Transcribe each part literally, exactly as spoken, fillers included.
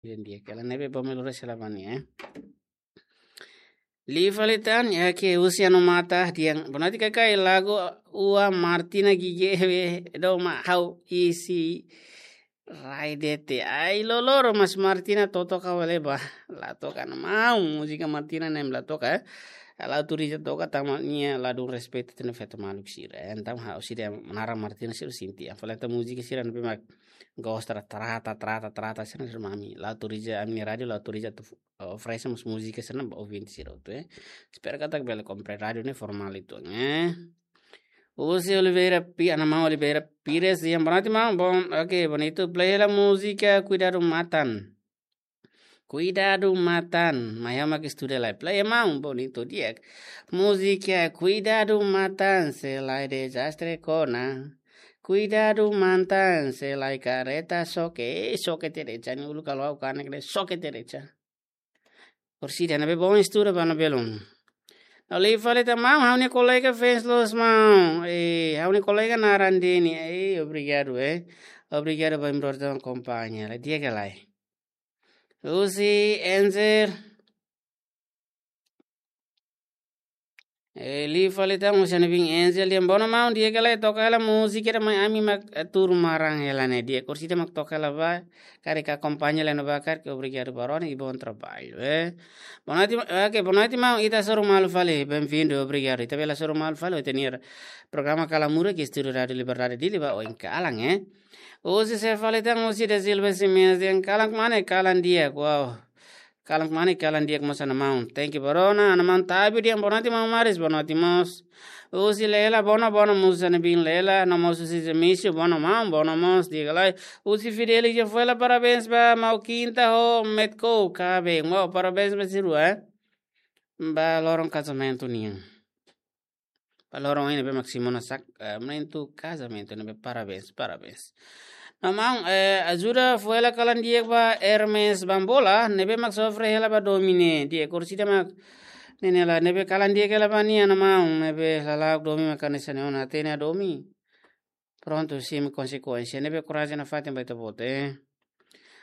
Ida-ne'e di'ak hela, ne'ebé bom lori sela bani, eh. Liu fali tan, ya ke usia no mata, di'ak. Bonoite kakai, lagu ua Martina Gige be, do ma hau isi rai dete. Ai loloron, mas Martina totoka wale ba. La toka no mau, múzika Martina nem la toka, eh. La autoriza toka, tanba nia la dun respeitu tiha ona feto maluk sira. Entaun ha'u sira naran Martina sira sente. Fali tan múzika sira ne'ebé mak gosta trata, trata, trata, sira sira mami. La autoriza, ami-nia rádiu la autoriza atu, eh, oferese mós múzika sira ba ouvinte sira hotu, eh. Espera katak bele kompra rádiu ne'e formál uitoan, eh. Husi Oliveira Pi-, Ana Maun Oliveira Pires, di'ak, bonoite maun, bom, oke, bonitu. Play hela múzika Kuidadu Matan. Kuidadu Matan, mai ha'u mak estuda lai. Play maun, bonitu di'ak. Múzika Kuidadu Matan, se la'e dezastre kona. Kuidadu Matan, se la'e kareta xoke. Eh, xoke tiha de'it, nia uluk halo ha'u kanek de'it, xoke tiha de'it. Orsida, ne'ebé bom estuda ba no belun. No liu fali tan maun, ha'u-nia kolega fans loos maun. Eh, ha'u-nia kolega naran Deni. Eh, obrigadu, eh. Obrigadu ba imi-boot nia akompaña. La di'ak ka lae? Husi Enzer. Eh, liu fali tan husi Ana Bin Enzel, di'ak, bonoite maun, di'ak ka lae, toka hela múzika ida mai ami mak, eh, tuur maran hela ne'e, di'ak, orsida mak toka hela ba, karik akompaña lai no ba karik, obrigadu ba rona i bom traballu, eh. Bonoite, oke, bonoite maun, ita hasoru malu fali, bem-vindo, obrigadu. Ita bele hasoru malu fali, ita-nia programa Kala Muda, ke estúdiu Rádiu Liberdade Dili ba oin kalan, eh. Husi sé fali tan, husi Da Silva Simenes, di'ak, kalan kmanek, kalan di'ak, wow. Kalan kmanek, kalan di'ak mós Ana Maun. Thank you ba rona, Ana Maun Tabi, di'ak, bonoite maun Maris, bonoite mós. Husi Lela, bonoite, bonoite mós Ana Bin Lela, no mós husi Zemício, bonoite maun, bonoite mós, di'ak ka lae. Husi Fidelis, di'ak, foin hela parabéns ba maun Kinta ho Metko, kabe. Maun, parabéns ba sira, eh. Ba loron kazamentu nian. Ba loron ne'ebé mak simu ona sak, eh, momentu kazamentu ne'ebé, parabéns, parabéns. No maun, eh, ajuda foin hela kalan di'ak ba Hermes Bambola, ne'ebé mak sofre hela ba domin ne'e, di'ak, orsida mak ne'e ne'e la, ne'ebé kalan di'ak hela ba nia, no maun, ne'ebé lala'ok domin mak hanesan ne'e ona, hatene domin. Prontu, simu konsekuénsia, ne'ebé korajen nafatin ba ita-boot, eh.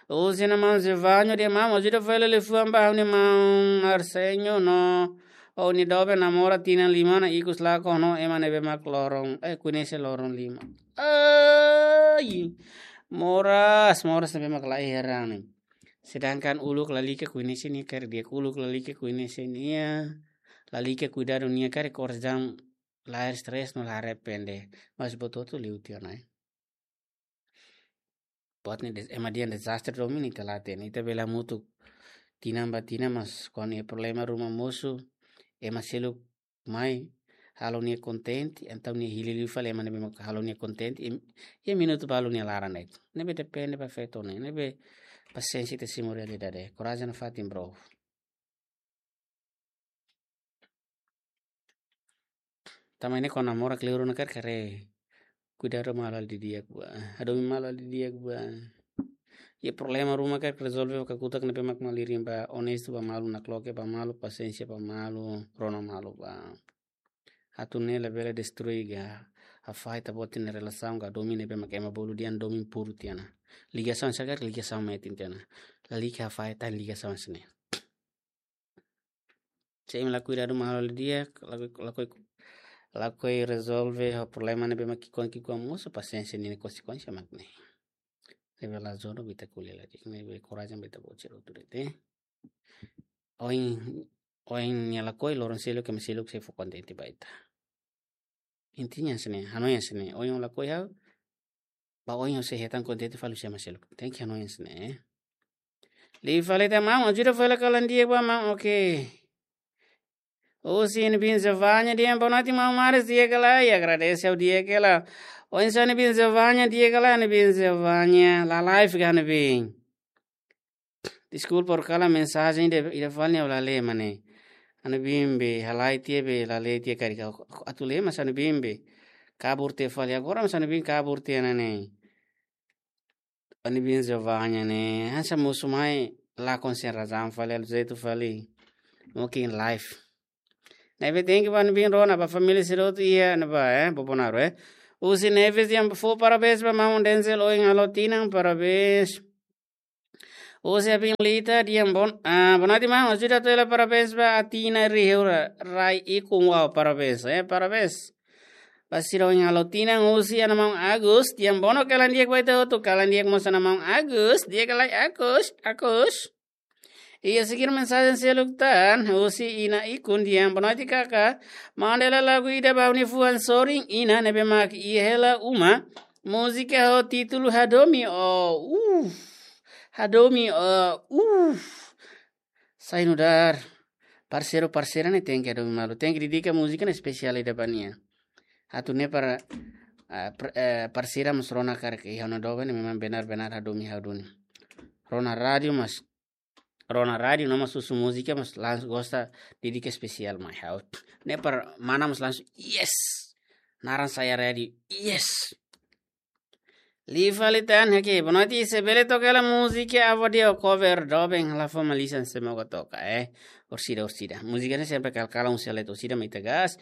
Husi Ana Maun Zevanho, di'ak maun, ajuda foin hela liafuan ba ha'u-nia maun Arsenio no ha'u-nia doben namora tinan lima ona, ikus lakon ho ema ne'ebé mak loron, eh, koñese loron lima. Ai, moras, moras ne'ebé mak laiha ne'e. Sedangkan uluk lalika koñese nia karik di'ak, uluk lalika koñese nia, lalika kuidadu nia karik, korajen la'ós stres no la arrepende. Mas buat hotu liu tiha ona, eh. Buat ne'e des-, ema dehan dezastre domin ita la hatene. Ita bele hamutuk tinan ba tinan, mas kuandu iha problema ruma mosu, ema seluk mai halo nia kontente, entaun nia hili liu fali ema ne'ebé mak halo nia kontente, i, i minutu balu nia laran de'it. Ne'ebé depende ba feto ne'e, ne'ebé pasiénsia ita simu realidade. Korajen nafatin, bro. Tanba ne'e kuandu namora kleur ona karik, haree kuidadu malu halo didi'ak ba. Hadomi malu halo didi'ak ba. Iha problema ruma karik rezolve ho kakutak ne'ebé mak malirin ba, onestu ba malu, nakloke ba malu, pasiénsia ba malu, rona malu ba. Atu ne'e labele destrui ka hafahe ita-boot nia relasaun ka domin ne'ebé mak ema bolu dehan domin puru tiha ona. Ligasaun sira karik ligasaun metin tiha ona. Lalika hafahe tan ligasaun sira-ne'e. Se imi la kuidadu malu halo didi'ak, lakohi, lakohi, lakohi rezolve ho problema ne'ebé mak ki'ikoan ki'ikoan mosu, pasiénsia ninia konsekuénsia mak ne'e. Ne'ebé la jodoh ba ita ko'alia lai, ne'ebé korajen ba ita-boot sira hotu de'it, eh. Ohin, ohin nia lakohi, loron seluk ema seluk sei fó kontente ba ita. Intinya hanesan ne'e, hanoin hanesan ne'e. Ohin ó lakohi ha'u, ba oin ó sei hetan kontente fali husi ema seluk. Tenke hanoin hanesan ne'e, eh. Liu fali tan maun, ajuda foin hela kalan di'ak ba maun, oke. Husi Ana Bin Zevanho, di'ak, bonoite maun Maris, di'ak ka lae, agradese ha'u di'ak hela. Oinsá Ana Bin Zevanho, di'ak ka lae, Ana Bin Zevanho, la live ka Ana Bin? Deskulpa, ha'u kalan mensajen ida, ida fali ne'e ha'u la lee, mane. Ana Bin be halai tiha be, la lee tiha karik, atu lee mas Ana Bin be kabur tiha fali, agora mas Ana Bin kabur tiha ona ne'e. Ana Bin Zevanho ne'e, hanesan mosu mai lakon sein razaun fali, halo jeitu fali. Mungkin live. Ne'ebé tenke ba Ana Bin rona, ba família sira hotu iha ne'ebá, eh, Bobonaro, eh. Husi Neves, di'ak, fó parabéns ba maun Denzel, ohin halo tinan, parabéns. Husi Apin Lita, di'ak, bon, ah, boa noite, maun. Ajuda hato'o hela parabéns ba Atina Riheura, rai ikun, wow, parabéns, eh, parabéns. Ba sira ohin halo tinan, husi Ana Maun Agus, di'ak, bono kalan di'ak ba ita hotu, kalan di'ak mós Ana Maun Agus, di'ak ka lae Agus, Agus. Iha seguir mensajen seluk tan, husi Ina Ikun, di'ak, boa noite kaka. Manda hela lagu ida ba ha'u-nia fuan sorin Ina ne'ebé mak iha hela uma. Múzika ho títulu Hadomi, oh, uh, Hadomi, oh, uh. Sai nu'udar. Parseiru, parseira ne'e tenke hadomi malu. Tenke dedika múzika ne'e espesiál ida ba nia. Atu ne'e para, ah, pr-, eh, parseira mós rona karik iha ona doben ne'e memang benar-benar hadomi ha'u duni. Rona rádiu mós, rona rádiu no mós husu múzika mós langsung gosta, dedika espesiál mai ha'u. Ne'e para mana mós langsung, yes. Naran sai iha rádiu, yes. Liu fali tan, oke, boa noite, se bele toka hela múzika Avó Dio cover doben, halo fó mai lisan se moga toka, eh. Orsida, orsida. Múzika ne'e sempre kal-kalan husi letra orsida mai ita gás.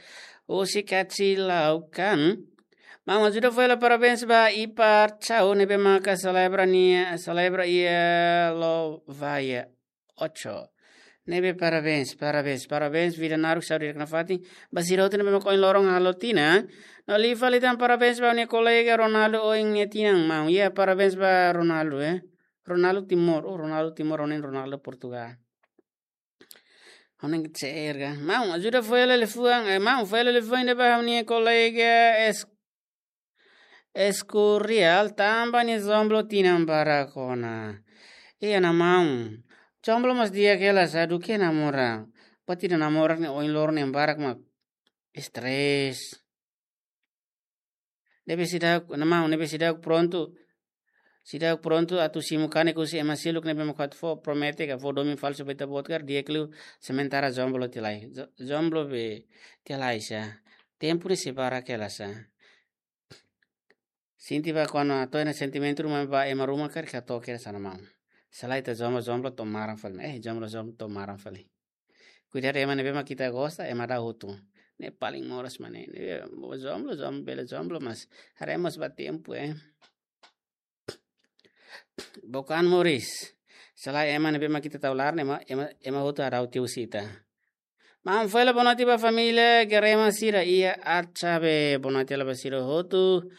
Husi Kaci Laukan. Maun, ajuda fó hela parabéns ba Ipar Chau ne'ebé maka selebra nia, selebra iha Lovaia ocho. Ne'ebé parabéns, parabéns, parabéns, vida naruk, saúde di'ak nafatin. Ba sira hotu ne'ebé mak ohin loron halo tinan. No liu fali tan parabéns ba ha'u-nia kolega Ronaldo ohin nia tinan, maun. Ya, parabéns ba Ronaldo, eh. Ronaldo Timor, oh, Ronaldo Timor, ohin Ronaldo Portugal. Ohin ke cerga. Maun, ajuda fó hela liafuan, eh, maun, fó hela liafuan ida ba ha'u-nia kolega es-, Escurial tanba nia jomblo tinan barak ona. Iha, Ana Maun. Jomblo mós di'ak hela sá, duké namora. Buat ida namora ne'e ohin loron na'in barak mak estrés. Ne'ebé seidauk, Ana Maun, ne'ebé seidauk prontu. Seidauk prontu atu simu kanek husi ema seluk ne'ebé mak atu fó promete ka fó domin falsu ba ita-boot karik, di'ak liu sementara jomblo tiha lai. Jo-, jomblo be tiha lai sá. Tempu ne'e sei barak hela sá. Sente ba kuandu hato'o ona sentimentu ruma ba ema ruma karik hato'o kedas, Ana Maun. Se lae ita jomblo, jomblo to'o maran fali. Eh, jomblo, jomblo to'o maran fali. Kuidadu ema ne'ebé mak ita gosta, ema daudaun hotu. Ne'e paling moras mak ne'e. Ne'e, jomblo, jomblo, bele jomblo, mas haree mós ba tempu, eh. Bokan moris. Se lae ema ne'ebé mak ita tau laran, ema, ema, ema hotu haree tiha husi ita. Maun, fó hela boa noite ba família Gerema sira iha Atsabe. Boa noite hela ba sira hotu.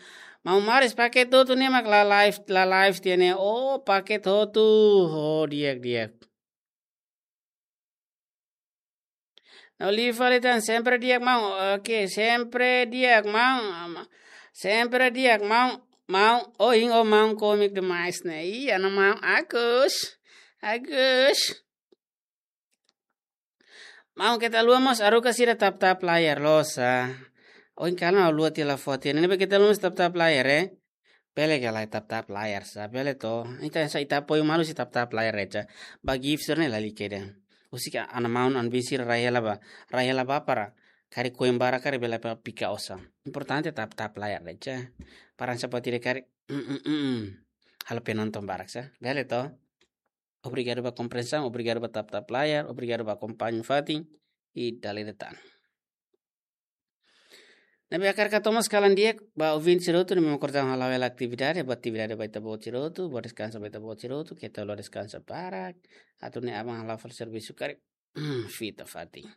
Maun, maris paket hotu ne'e mak la live, la live tiha ne'e. Oh, paket hotu. Oh, di'ak, di'ak. No liu fali tan, sempre di'ak, maun. Oke, sempre di'ak, maun. Sempre di'ak, maun. Maun, oh, ohin ó maun kómiku demais ne'e. Iha, Ana Maun Agus. Agus. Maun, keta haluha mós haruka sira tap-tap layar, loos sá. Ohin kalan ha'u haluha tiha la fó tiha. Ne'ebé keta haluha mós tap-tap layar, eh. Bele ka lae tap-tap layar sá, bele to. Ita sá, ita apoiu malu husi tap-tap layar de'it sá. Ba gift sira-ne'e lalika ida. Husik Ana Maun, Ana Bin sira rai hela bá. Rai hela bá para karik koen barak karik bele bá pika osan. Importante tap-tap layar de'it sá. Para sá buat ida karik, mm, mm, mm, mm. Halo penonton barak sá. Bele to. Obrigadu ba komprensaun, obrigadu ba tap-tap layar, obrigadu ba akompaña fatin, i dala ida tan. Ne'ebé hakarak hato'o mós kalan di'ak ba ouvinte sira hotu ne'ebé mak ohin loron hala'o hela atividade, boa atividade ba ita-boot sira hotu, boa deskansa ba ita-boot sira hotu, keta haluha deskansa barak, atu nune'e aban hala'o fali servisu karik fita fatin.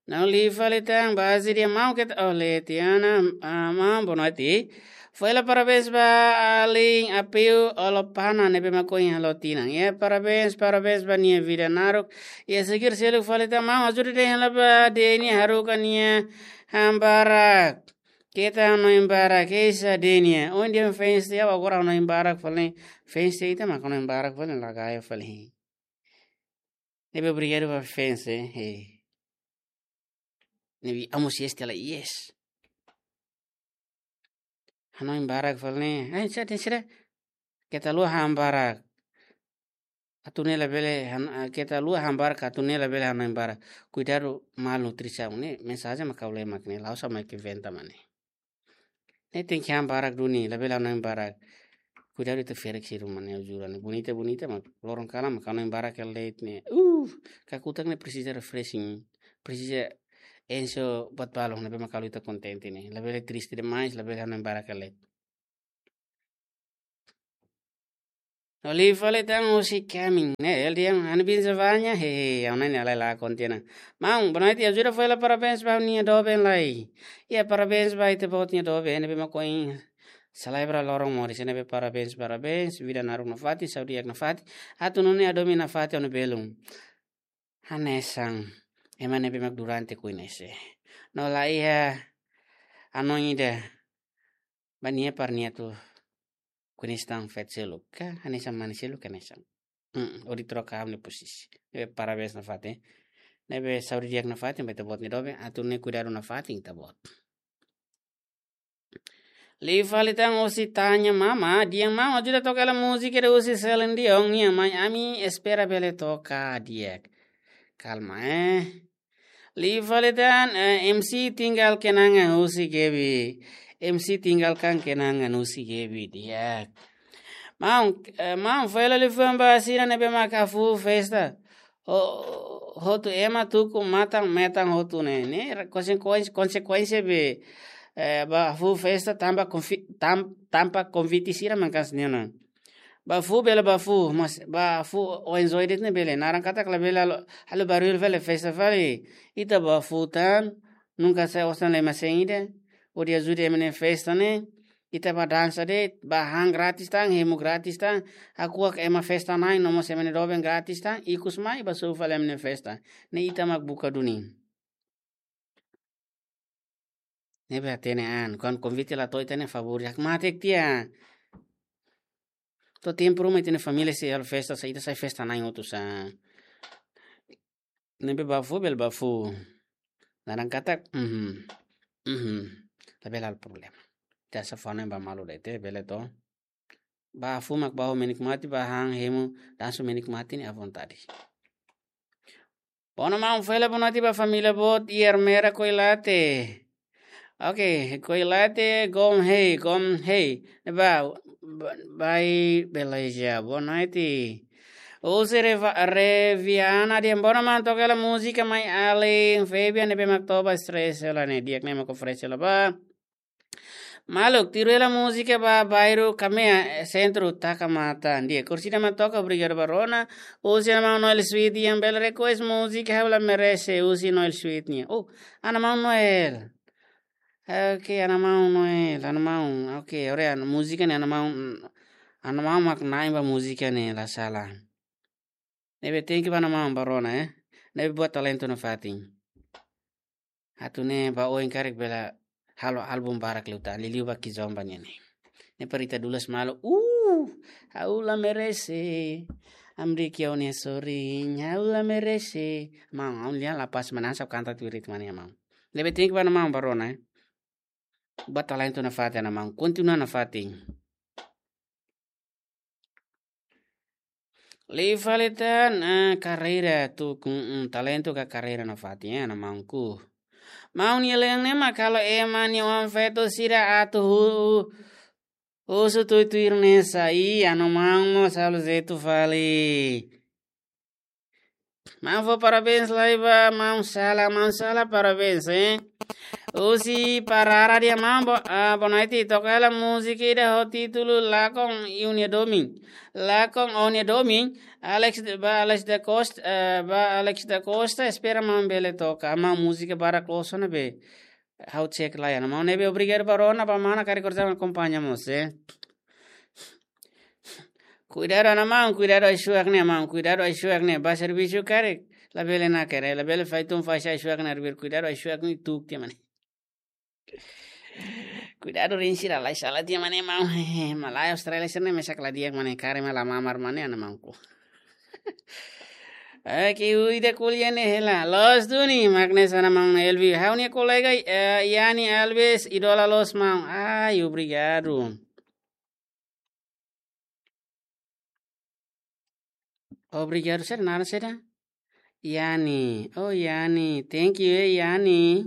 No liu fali tan, baze dia mau keta, oh, Letiana, ah, maun, boa noite. Fó hela parabéns ba alin Apiu Olopana ne'ebé mak ohin halo tinan. Ya, parabéns, parabéns ba nia vida naruk. Ya, seguir seluk fali tan, maun, ajuda dehan hela ba Denia haruka nia han barak. Keta hanoin barak, esa Denia. Ohin dehan fans tiha, agora hanoin barak fali. Fans tiha ita mak hanoin barak fali, la gaya fali. Ne'ebé obrigadu ba fans, eh. Eh. Ne'ebé amo si este la, yes. Hanoin barak fali ne'e. Eh, sira, sira. Keta haluha han barak. Atu nune'e labele han, ah, keta haluha han barak, atu nune'e labele hanoin barak. Kuidadu malnutrisaun ne'e, mensajen mak ha'u lee mak ne'e, la'ós ha'u mak inventa mak ne'e. Ne'e tenke han barak duni, labele hanoin barak. Kuidadu ita ferik sira mak ne'e, jura ne'e. Bonita, bonita, mak loron kalan mak hanoin barak hela de'it ne'e. Uh, kakutak ne'e presiza refreshing. Presiza enxe buat balun, ne'ebé mak halo ita kontente ne'e. Labele triste demais, labele hanoin barak hela de'it. No liu fali tan husi Kamin, ne'e, ele dehan, "Ha'u-nia biin Savanya, hehe, ha'u-nia ne'e lai la kontina." Maun, boa noite, ajuda fó hela parabéns ba ha'u-nia doben lai. Iha parabéns ba ita-boot nia doben, ne'ebé mak ohin selebra loron moris, ne'ebé parabéns, parabéns, vida naruk nafatin, saúde di'ak nafatin, atu nune'e hadomi nafatin ha'u-nia belun. Hanesan ema ne'ebé mak durante koñese. No la iha hanoin ida ba nia para nia atu koñese tan feto seluk ka, hanesan mane seluk ka hanesan. Hmm, hodi troka ha'u-nia posisi. Ne'ebé parabéns nafatin. Ne'ebé saúde di'ak nafatin ba ita-boot nia doben, atu nune'e kuidadu nafatin ita-boot. Liu fali tan husi Tanya Mama, dehan maun ajuda toka hela múzika ida husi Celine Dion nian, mai ami espera bele toka di'ak. Kalma, eh. Liu fali tan, eh, M C tinggal kenangan husi Gaby. M C tinggalkan kenangan husi Gaby, di'ak. Maun, eh, maun, fó hela liafuan ba sira ne'ebé mak hafuhu festa. Ho-, hotu ema tuku matan-metan hotu ne'e. Ne'e, konsekuénsia, konsekuénsia be, eh, bá hafuhu festa tanba konvi-, tan-, tanba konvite sira mak hanesan ne'e ona. Bá hafuhu bele bá hafuhu, mas bá hafuhu oin-oin de'it ne'e bele. Naran katak labele halo, halo barullu fali festa fali. Ita bá hafuhu tan, nunka sai osan lai ema-sein ida. Hodi ajuda ema nia festa ne'e. Ita bá dansa de'it, bá han gratis tan, hemu gratis tan, hakuak ema festa na'in, no mós ema nia doben gratis tan, ikus mai bá sobu fali ema nia festa. Ne'e ita mak buka duni. Ne'ebé hatene an, kuandu konvite la to'o ita-nia favór, hakmatek tiha. To'o tempu ruma ita-nia família sei halo festa, sai ita sai festa na'in hotu sa. Ne'ebé bá hafuhu, bele bá hafuhu. Naran katak, mhm, mhm. Labele halo problema. Ita sá fó hanoin ba malu de'it, bele to. Bá hafuhu mak bá ho menikmati, bá han hemu dansa menikmati ne'e à vontade. Boa noite maun, fó hela boa noite ba família boot iha Ermera Koilate. Oke, Koilate, Gom Hei, Gom Hei. Ba, ba, bai, beleja, boa noite. Husi Reva-, Reviana dehan boa noite maun, toka hela múzika mai alin Fabian ne'ebé mak toba stress hela ne'e, di'ak ne'e mak oferese hela ba. Maluk, tiru hela múzika ba bairru Kamea, eh, sentru, taka matan. Di'ak, kursida mak toka, obrigadu ba rona. Husi Ana Maun Noel Sweet, dehan bele request múzika ha'u la merese, husi Noel Sweet nian. Oh, Ana Maun Noel. Oke, Ana Maun Noel, Ana Maun. Oke, ore an múzika ne'e Ana Maun, Ana Maun mak na'in ba múzika ne'e la sala. Ne'ebé thank you ba Ana Maun ba rona, eh. Ne'ebé buat talentu nafatin. Atu nune'e ba oin karik bele halo álbum barak liután, liuliu ba Kizomba nian ne'e. Ne'e para ita dulas malu, uh, ha'u la merese. Amri kiau nia sorin, ha'u la merese. Maun, ha'u lia la pas manasa kanta tuirit mania maun. Ne'ebé thank you ba Ana Maun ba rona, eh. Buat talentu nafatin Ana Maun, kontinua nafatin. Liu fali tan, ah, karreira tu, mm, talentu ka karreira nafatin, eh, Ana Maunku. Maun nia lean ne'e mak halo ema nia oan feto sira atu hu-, husu tuir-tuir ne'e sai, Ana Maun mós halo jeitu fali. Maun fó parabéns lai ba Maun Sala, Maun Sala parabéns, eh. Husi Parara dehan maun bo-, ah, boa noite, toka hela múzika ida ho títulu Lakon Ó-nia Domin. Lakon Ó-nia Domin, Alex de, ba Alex da Costa, eh, ba Alex da Costa, espera maun bele toka, maun múzika barak loos ona be. Ha'u check lai, Ana Maun, ne'ebé obrigadu ba rona, ba mana karik orsida akompaña mós, eh. Kuidadu Ana Maun, kuidadu ai-suak ne'e maun, kuidadu ai-suak ne'e, ba servisu karik, labele nakere, labele fai tun fai sai ai-suak ne'e, arbir kuidadu ai-suak ne'e tuk tiha mane. Kuidadu rin sira lai sala tiha mane maun, hehe, malae Austrália sira ne'e mesak la di'ak mane, kare ma la mamar mane Ana Maunku. Oke, ui da kuliah ne'e hela. Loos duni, mak ne'e Ana Maun Elvi. Ha'u-nia kolega, eh, Yani Alves, idola loos maun. Ai, obrigadu. Obrigadu, saida naran saida? Yani. Oh, Yani. Thank you, eh, Yani.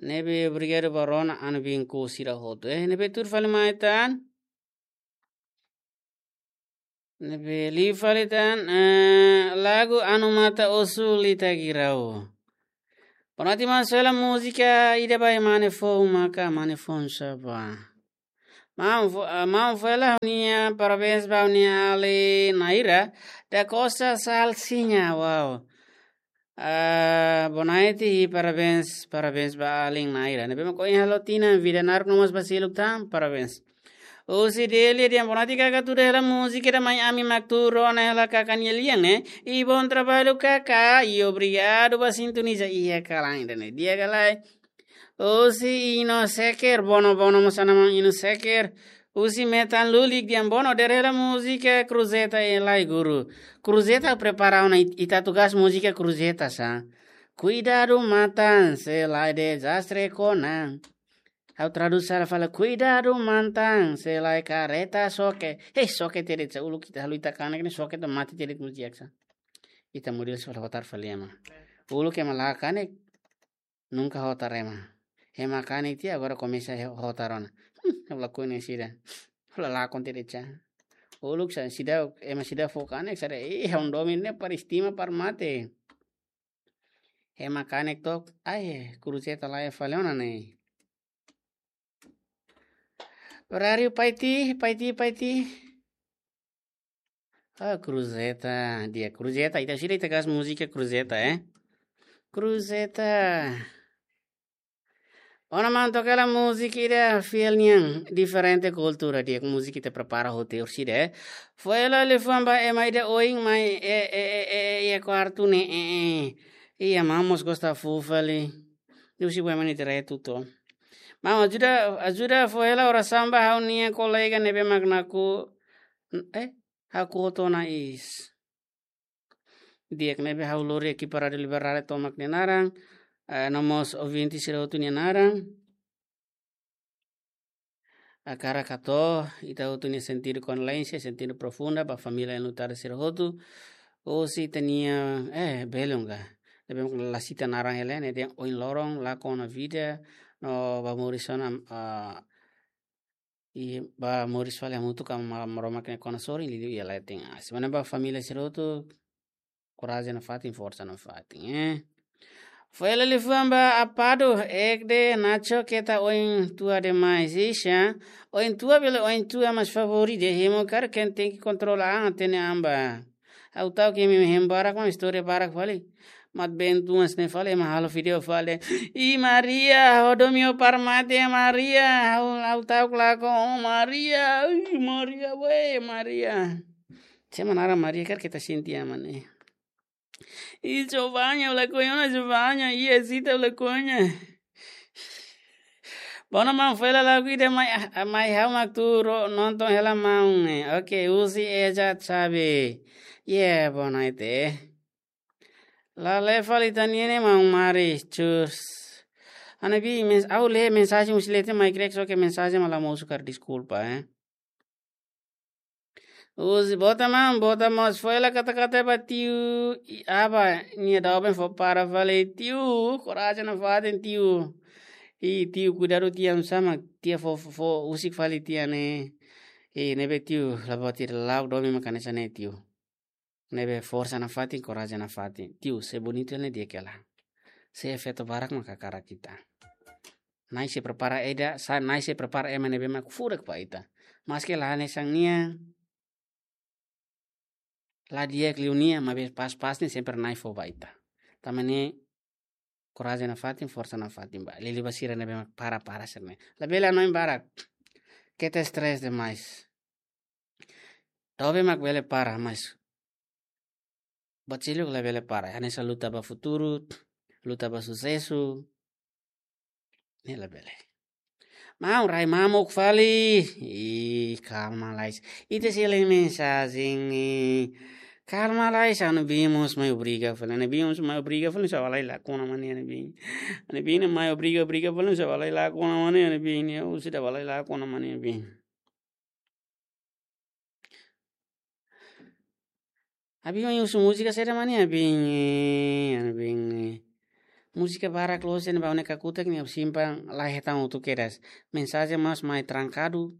Ne'ebé obrigadu ba rona Ana Maunku sira hotu, eh. Ne'ebé tuur fali mai tan. Ne'ebé liu fali tan, eh, lagu Anu Mata Osu Lita Girau. Boa noite maun, sela múzika ida ba mane foun maka, mane foun sá ba. Maun fo-, ah, maun foin hela ha'u-nia parabéns ba ha'u-nia alin Naira da Costa Salsinha, wow. Ah, bonaiti, parabéns, parabéns ba alin Naira. Ne'ebé mak ohin halo tinan, vida naruk no mós ba seluk tan, parabéns. Husi Deli dehan bonaiti kaka, tuda hela múzika ida mai ami mak tuur ona hela kaka nia lian ne'e. I bom trabalho kaka, i obrigadu ba sintoniza iha kalan ida-ne'e. Di'ak ka lae? Husi Ino Seker, Bono, Bono mós ana maun Ino Seker. Husi Metan Lulik dehan bonaiti, tuur hela múzika Cruzeta e lai guru. Cruzeta prepara ona, it-, ita tugas múzika Cruzeta sá. Kuidadu matan, se lae dezastre kona. Ha'u tradús sala fali, kuidadu matan, se lae kareta xoke. Hei, xoke tiha de'it sá, uluk ita halo ita kanek ne'e xoke to'o mate tiha de'it múzika sá. Ita modelu sala hotar fali ema. Uluk ema la kanek, nunka hotar ema. Ema kanek tiha, agora komesa he-, hotar ona. Hmm, ha'u lakohi ne'e sira. Ha'u la lakon tiha de'it sá. Uluk sá sida, ema sida fó kanek sá de'it, eh, ha'u domin ne'e para estima para mate. Ema kanek took, ai, Cruzeta laiha fali ona ne'e. Horáriu Paiti, Paiti, Paiti. Ah, Cruzeta, di'ak Cruzeta, ita sira ita gas múzika Cruzeta, eh. Cruzeta. Ona maun toka hela múzika ida fiel nian, diferente kultura, di'ak múzika ita prepara hotu orsida, eh. Foin hela liafuan ba ema ida oin mai, eh, eh, eh, eh, eh, iha kuartu ne'e, eh, eh. Iha maun mós gosta fó fali. Husi buat ema nia direitu to. Maun ajuda, ajuda fó hela orasaun ba ha'u-nia kolega ne'ebé mak nakonu, eh, hakotu ona iis. Di'ak, ne'ebé ha'u lori ekipa Rádiu Liberdade tomak nia naran, eh, no mós ouvinte sira hotu nia naran. Hakarak hato'o ita hotu nia sentidu kondolénsia, sentidu profunda ba família enlutada sira hotu. Husi ita-nia, eh, belun ka. Ne'ebé mak la sita naran hela ne'e, dehan ohin loron lakon ona vida, no ba moris ona, ah, i ba moris fali hamutuk ho Maromak nia kona sorin, liuliu iha leten aas. Mana ba família sira hotu, korajen nafatin, forsa nafatin, eh. Foin hela liafuan ba Apado, ekde Nacho keta oin tua demais, ixa. Oin tua bele oin tua, mas favór ida hemu karik ken tenke kontrola an, hatene an ba. Ha'u ta'uk imi hemu barak, maun istória barak fali. Mat bentu mas ne'e fali, ema halo vídeo fali. I Maria, ho domin para mate Maria, ha'u, ha'u ta'uk lakon, oh Maria, ui Maria, we Maria. Sé mak naran Maria karik ita sente aman, eh. I Giovanna, ha'u lakohi ona Giovanna, i Zita, ha'u lakohi ona. Bono maun, foin hela lagu ida mai, ah, mai ha'u mak tuur nonton hela maun ne'e. Oke, husi Eja Xavi. Ye, bonaiti. La lee fali ita-nia ne'e maun Mari, cus. Ha'u-nia bi mens-, ha'u lee mensajen husi leten mai krek, só ke mensajen mak la mosu karik, deskulpa, eh. Husi Bota maun, Bota mós foin hela kata-kata ba tiu, i aba, nia doben fó para fali tiu, korajen nafatin tiu. I tiu kuidadu tiha, sama tiha fó, fó, fó husik fali tiha ne'e. I ne'ebé tiu, la buat ida, la'o domin mak hanesan ne'e tiu. Ne'ebé forsa nafatin, korajen nafatin. Tiu, se bonitu ne'e di'ak hela. Se efeitu barak mak hakarak ita. Na'i sei prepara ida, sa Na'i sei prepara ema ne'ebé mak furak ba ita. Maske la hanesan nia, la di'ak liu nia, maibé pas-pas ne'e sempre Na'i fó ba ita. Tanba ne'e korajen nafatin, forsa nafatin ba. Liuliu ba sira ne'ebé mak para-para sira-ne'e. Labele hanoin barak. Keta estrés demais. Doben mak bele para, mas buat seluk labele para. Hanesan luta ba futuru, luta ba susesu. Ne'e labele. Maun, rai mamuk fali. Ih, kalma lais. Ita sei lee mensajen, ih. Kalma lais, ha'u-nia biin mós mai obriga fali. Ha'u-nia biin mós mai obriga fali, sá bá lai lakon ona mak ne'e ha'u-nia biin. Ha'u-nia biin ne'e mai obriga, obriga fali, sá bá lai lakon ona mak ne'e ha'u-nia biin. Ha'u sei bá lai lakon ona mak ne'e ha'u-nia biin. Ha'u-nia biin mai husu múzika saida mak ne'e ha'u-nia biin, eh, ha'u-nia biin, eh. Múzika barak loos ne'e ba ne'e kakutak ne'e simpan la hetan hotu kedas. Mensajen mós mai trankadu.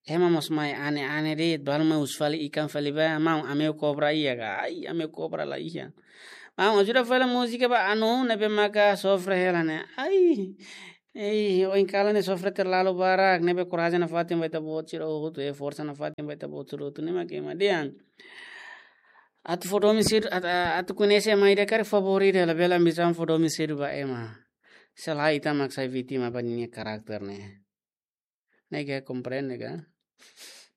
Ema mós mai ane-ane de'it, balu mai husu fali ikan fali ba, maun, ami ho kobra iha ka? Ai, ami ho kobra la iha. Maun, ajuda fali múzika ba Anu ne'ebé maka sofre hela ne'e. Ai. Ei, ohin kalan ne'e sofre terlalu barak, ne'ebé korajen nafatin ba ita-boot sira hotu, eh, forsa nafatin ba ita-boot sira hotu, ne'e mak ema dehan. Atu fó domin sira, at-, a-, atu koñese ema ida karik favór ida, labele ambisaun fó domin sira ba ema. Se lae ita mak sai vítima ba ninia karakter ne'e. Ne'e ke komprende ka?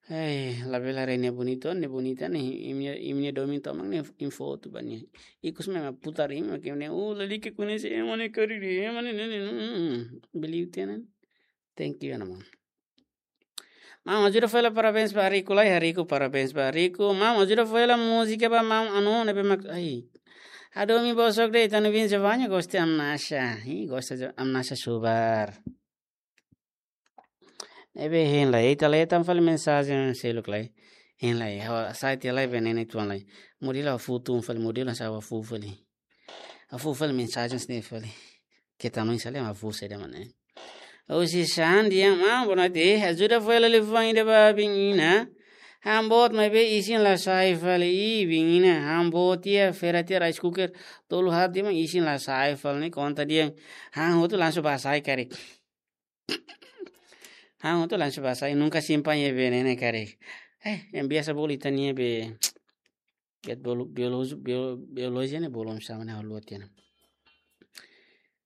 Hei, labele haree ne'e bonitu, ne'e bonita ne'e, imi-nia, imi-nia domin tomak ne'e info tu ba nia. Ikus mema putar imi, ke ne'e, oh, lalika koñese ema ne'e karik, ema ne'e, ne'e, ne'e, mm, believe tiha ne'e. Thank you, ana maun. Maun, ajuda fó hela parabéns ba Riku lai, Riku, parabéns ba Riku. Maun, ajuda fó hela múzika ba maun, anu, ne'ebé mak, ai. Hadomi bosok de'it, ita-nia ouvinte Giovanni gosta Amnasha. Ih, gosta de Amnasha subar. Ne'ebé hein lai, ita lee tan fali mensajen seluk lai. Hein lai, ha'u hasai tiha lai veneno tuan lai. Modelo ha'u fó tun fali, modelo hasai ha'u fó fali. Ha'u fó fali mensajen sini fali. Keta no insale ha'u fó saida mana. Husi Xan dehan, maun, boa noite. Ajuda fó hela liafuan ida ba biin Ina. Ha'u-boot maibé isin la sai fali, ih, biin Ina. Ha'u-boot iha feira tiha rice cooker. Tolu haat tiha mak isin la sai fali ne'e konta dehan. Ha'u hotu langsung bá hasai karik. Ha'u hotu langsung bá hasai, nunka simpan iha veneno karik. Eh, yang biasa bolu ita-nia be, biat bolu, biologi, bio-, biologi ne'e bolu sama na haluat ya na.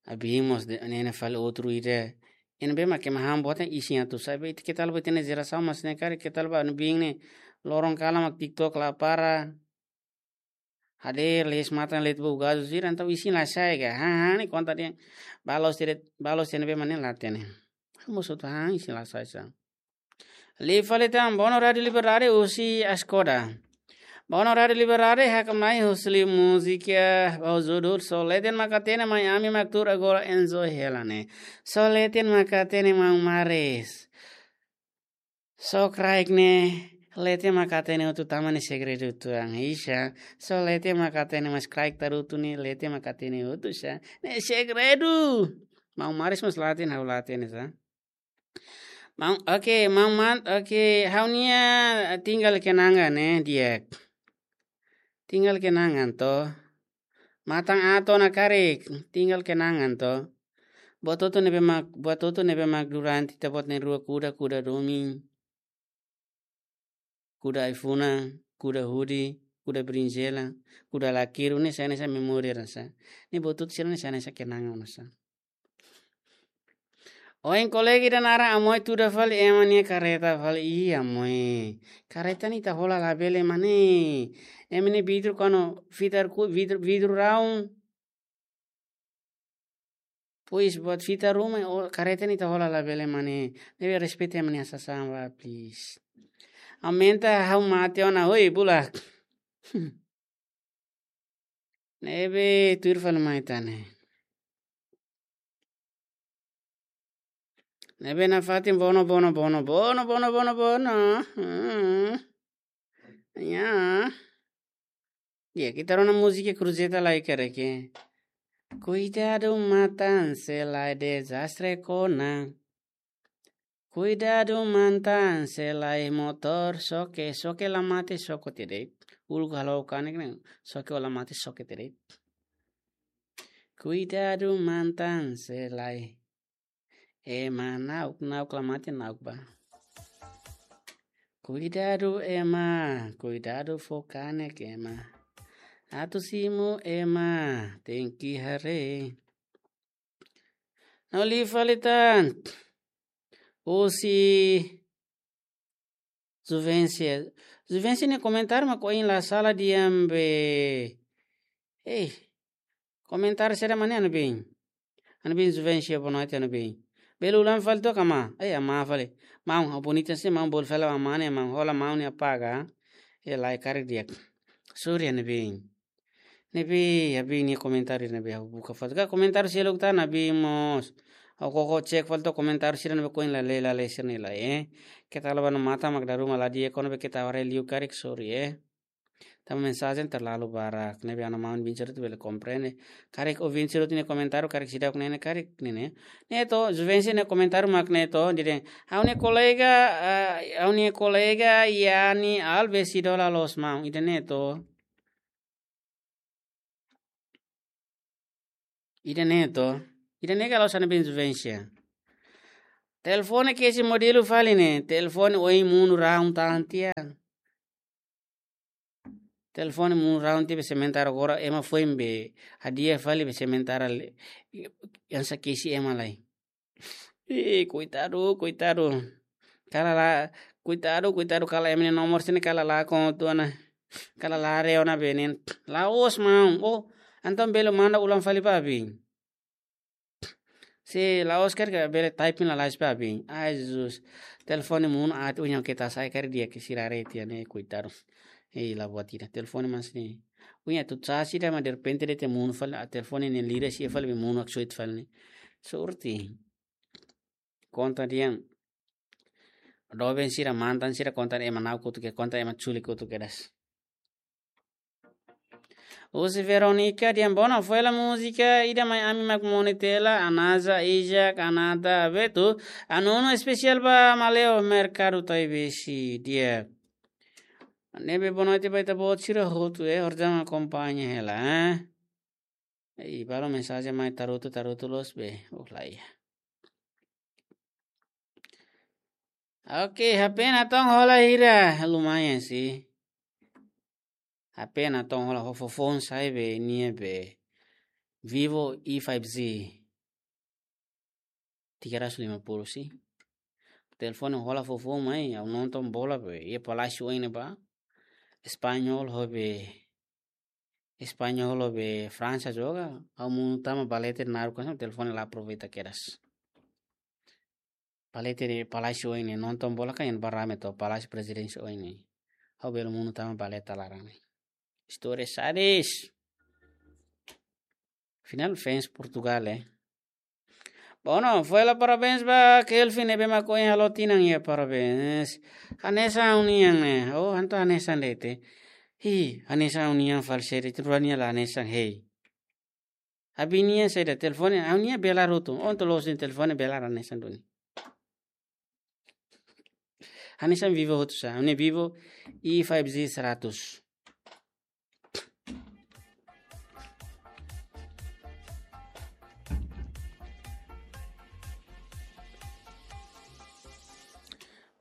Abimos de, ne'e ne'e fali outro ida. Ne'ebé mak ema ha'u-boot ne'e isin atu sai, be ita keta la buat ne'e jerasaun mas ne'e karik, keta la ba anu biin ne'e. Loron kalan mak TikTok la para. Hadeer, lees matan, lees bou gazu sira, entaun isin la sai ka. Ha, ha, ne'e konta dehan. Balos tiha de'it, balos tiha ne'ebé mak ne'e la hatene. Mosu tu ha, isin la sai sa. Lee fali tan, Bono Rádio Liberdade husi Askoda. Bono Rádio Liberdade, hakmatek husi múzika, ba judul Só Leten Mak Hatene, mai ami mak tuur agora enjoy hela ne'e. Só leten mak hatene, maun Maris. Só kraik ne'e, leten mak hatene hotu, tanba ne'e segredu tuan. Isa, só leten mak hatene, mas kraik tarutu ne'e, leten mak hatene hotu sa. Ne'e segredu. Maun Maris mós la hatene, ha'u la hatene sa. Maun, oke, maun man, oke, ha'u-nia tinggal kenangan ne'e, di'ak. Tinggal kenangan to. Matan aat ona karik, tinggal kenangan to. Buat hotu ne'ebé mak, buat hotu ne'ebé mak durante ita-boot na'in-rua kuda, kuda domin. Kuda ai-funan, kuda hudi, kuda berinjela, kuda lakiru ne'e sai hanesan memória ona sa. Ne'e buat hotu sira ne'e sai hanesan kenangan ona sa. Ohin kolega ida naran Amoy tuda fali ema nia kareta fali. Ih, Amoy. Kareta ne'e ita hola labele mane. Ema nia vidru kona fitar ku, vidru, vidru raun. Pois buat fitar ruma, o, kareta ne'e ita hola labele mane. Ne'ebé respeita ema nia sasán ba, please. Aumenta ha'u mate ona, oi, bulak. Ne'ebé tuir fali mai tane. Ne'ebé nafatin Bono, Bono, Bono. Hmm. Ya. Ya, ita rona múzika Cruzeta lai karik. Kuidadu matan se lae dezastre kona. Kuidadu matan se lae motór xoke, xoke la mate xoke tiha de'it. Uluk halo kanek ne, xoke la mate xoke tiha de'it. Kuidadu matan se lae. Ema na'ok, na'ok la mate na'ok ba. Kuidadu ema, kuidadu fó kanek ema. Atu simu ema, tenke haree. No lee fali tan. Husi Juvencia. Juvencia nia komentáriu mak ohin la sala dehan be. Eh, komentáriu saida mak ne'e, ana biin. Ana biin Juvencia, boa noite, ana biin. Bele ulang fali took, amá. Eh, amá fali. Maun, ha'u bonita se maun bolu fali amá ne'e, maun hola maun nia paga. Eh, lae karik di'ak. Sorry, ana biin. Ne'ebé, ha'u-nia komentáriu ne'ebé ha'u buka fali. Ka komentáriu seluk tan, ha'u mós. Ha'u koko cek fali took komentáriu sira ne'ebé ohin la lee, la lee sira-ne'e lai, eh. Keta la ba no mata mak daru ma la di'ak, kona be keta haree liu karik, sorry, eh. Tanba mensajen terlalu barak. Ne'ebé ana maun biin sira hotu bele komprende. Karik ouvinte sira hotu nia komentáriu, karik seidauk ne'e ne'e karik ne'e ne'e. Ne'e to, Juvencia nia komentáriu mak ne'e to, dehan. Ha'u-nia kolega, eh, ha'u-nia kolega Yani Alves idola loos maun. Ida-ne'e to. Ida-ne'e to. Ida-ne'e ka la'ós ana biin Juvencia. Telefone kesi modelu fali ne'e, telefone oin monu raun tan tiha. Telefone monu raun tiha be sementara agora ema foin be hadi'a fali be sementara le, hanesan kesi ema lai. Ih, koitadu, koitadu. Kala la, koitadu, koitadu, kala ema nia nomor sira-ne'e kala lakon tiha ona. Kala haree ona be ne'e. La'ós maun. Oh, entaun bele manda ulang fali ba abin. Se la'ós karik bele typing lalais ba abin. Ai, Jesus. Telefone monu aat uña ke ta sai karik di'ak ke sira haree tiha ne'e, koitadu. Ei, la buat ida. Telefone mas ne'e. Uña tu sa sida ma derrepente de'it monu fali, ah, telefone ne'e lira sia fali be monu haksoit fali ne'e. Sorte. Konta dehan. Doben sira, mantan sira, konta ema na'ok kotuk, konta ema chuli kotuk kedas. Husi Veronica dehan: "Bona, foin hela múzika ida mai ami mak monu tiha hela, Anaza, Isaac, Anata, Beto, Anunu espesiál ba Maleo Merkadu Taibesi di'ak." Ne'ebé boa noite ba ita-boot sira hotu, eh, horjama akompaña hela, eh. Ei, balu mensajen mai tarutu, tarutu loos be. Oh, la iha. Oke, H P natoon hola hira, lumayan sih. H P natoon hola ho foufoun sa'e be, nia be Vivo E five Z. Tiga ratus lima puluh sih. Telefone hola foufoun mai, ha'u nonton bola be, iha Palácio oin ne'ebá. Espanhol ho be, Espanhol ho be Fransa joga, ha'u monu tama balete naruk kan, telefone la aproveita kedas. Balete ne'e Palácio oin ne'e, nonton bola kan iha ne'ebá rame to, Palácio Presidente oin ne'e. Ha'u bele monu tama balete laran ne'e. Istória sadis. Final fans Portugal, eh. Bona, foin hela parabéns ba Kelvin ne'ebé mak ohin halo tinan, iha parabéns. Hanesan ha'u-nian ne'e. Oh, entaun hanesan de'it. Hi, hanesan ha'u-nian fali seri tu rua nia la hanesan hei. Abin nia saida telefone, ha'u-nian belar hotu. Ohin loos nia telefone belar hanesan duni. Hanesan Vivo hotu sá, ha'u-nia Vivo E five Z seratus.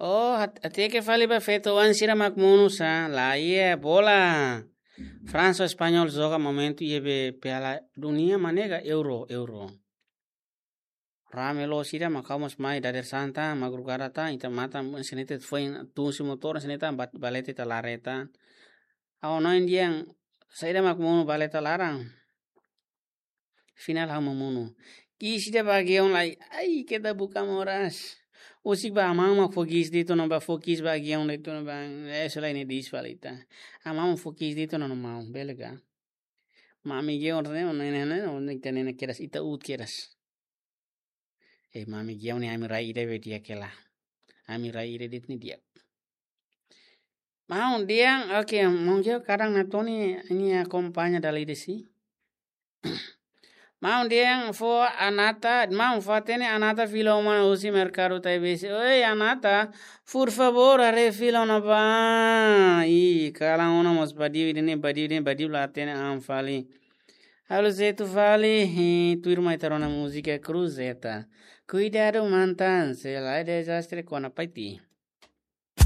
Oh, hat-, hateke fali ba feto-oan sira mak monu sá, la iha bola. Fransa, Espanhol joga momentu iha be Piala Dunia, manega Euro, Euro. Rame loos ida mak ha'u mós mai dadeer-saan tan, madrugada tan, ita matan, hanesan ne'e ita foin tun husi motór, hanesan ne'e ita bat-, balete ita lare tan. Ha'u hanoin dehan, saida mak monu balete laran. Final ha'u mak monu. Ki'ik ida ba Gideon lai, ai, keta buka moras. Husik ba amá mak fó ki'ik de'it ona ba, fó ki'ik ba Gideon de'it ona ba, eh, selain ini dis falita. Amá mak fó ki'ik de'it ona no maun, bele ka. Mami Gideon ne'e, ne'e, ne'e, ne'e, ita ne'e kedas, ita uut kedas. Eh, mami Gideon ne'e ami rai ida be di'ak hela. Ami rai ida de'it ne'e di'ak. Maun dehan, oke, maun Gideon kadang natoon nia akompaña dala ida sih. Maun dehan fó Anata, maun fó hatene Anata fila uma husi Merkadu Taibesi. Oi, Anata, por favor, haree fila ona ba. Ih, kalan ona mós badiu ida-ne'e, badiu ida-ne'e, badiu la hatene an fali. Halo jetu fali, eh, tuirmai ita rona múzika Cruzeta. Kuidadu mantan, se lae dezastre kona paiti.